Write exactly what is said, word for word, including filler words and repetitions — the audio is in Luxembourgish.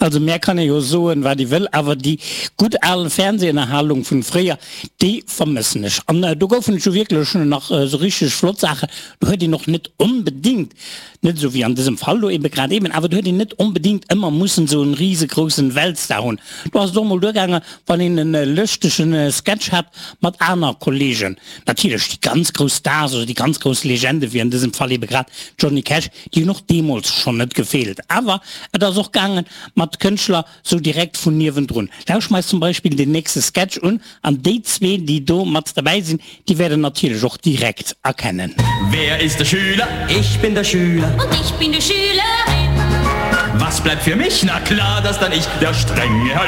Also mär kann ee jo soen, wat ee wëll, awer déi gutt al Fernsehënnerhalung vun fréier, déi vermëssen ech. An do goufen et jo wierklech nach esou richteg flott Saachen. Do huet een och net onbedingt, net esou wéi an dësem Fall do ebe grad eben, awer do huet een net onbedingt ëmmer mussen esou en risegroussen Weltstar hunn. Do ass et och mol duergaangen, wann een en lëschtegen Sketch hat mat aner Kollegen. Natierlech déi ganz grouss Stars oder déi ganz grouss Legende wéi an dësem Fall ebe grad Johnny Cash, déi hunn och deemools schonn net gefeelt. Awer et ass och gaangen mat Kënschtler sou direkt vun niewendrun. Lauscht mer eis zum Beispill den nächste Sketch un an déi zwee, déi do mat derbäi sinn, déi wäert der natierlech och direkt erkennen. Wer ist der Schüler? Ich bin der Schüler. Und ich bin die Schülerin. Was bleibt für mich? Na klar, dass dann ich der strenge Herr